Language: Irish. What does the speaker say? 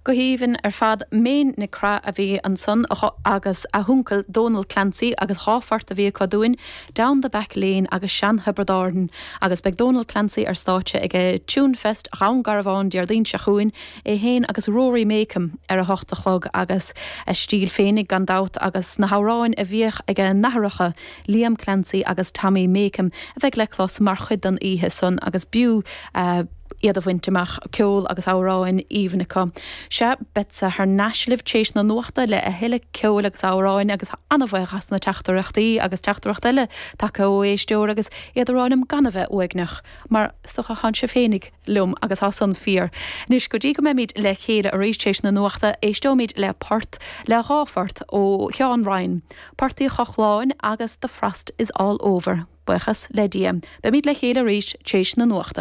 Go haoibhinn ar fad. Méin Nic Craith a bhí ansan agus a huncail Dónal Clancy agus dha phort a bhí acu dúinn, Down the Back Lane agus Sean Thiobraid Árann. Agus beidh Dónal Clancy ar stáitse ag Tune Fest Dhún Garbhán Déardaoin seo chugainn, é féin agus Rory Makem ar a hocht a chlog agus a stíl féinig gan dabht agus na hamhráin a bhíodh ag a n-athaireacha Liam Clancy agus Tommy Makem a bheidh le clos mar chuid den oíche san agus b'fhiú iad a bhaint amach, ceol agus amhráin aoibhinn acu. Sea, beadsa thar n-ais libh t'éis na nuachta le a thuilleadh ceoil agus amhráin agus an-bhuíoch as na teachtaireachtaí agus teachtaireacht eile tagtha ó éisteoir agus iad a rá liom gan a bheith uaigneach mar is dócha thánn sibh féinig liom agus tá san fíor. Anois go dtí go mbeimid le chéile arís t'éis na nuachta éisteoimid le port, le dhá phort ó Sheán Ryan, Port Uí Chochláin agus The Frost is All Over. Buíochas le Dia. Beimid le chéile arís t'éis na nuachta.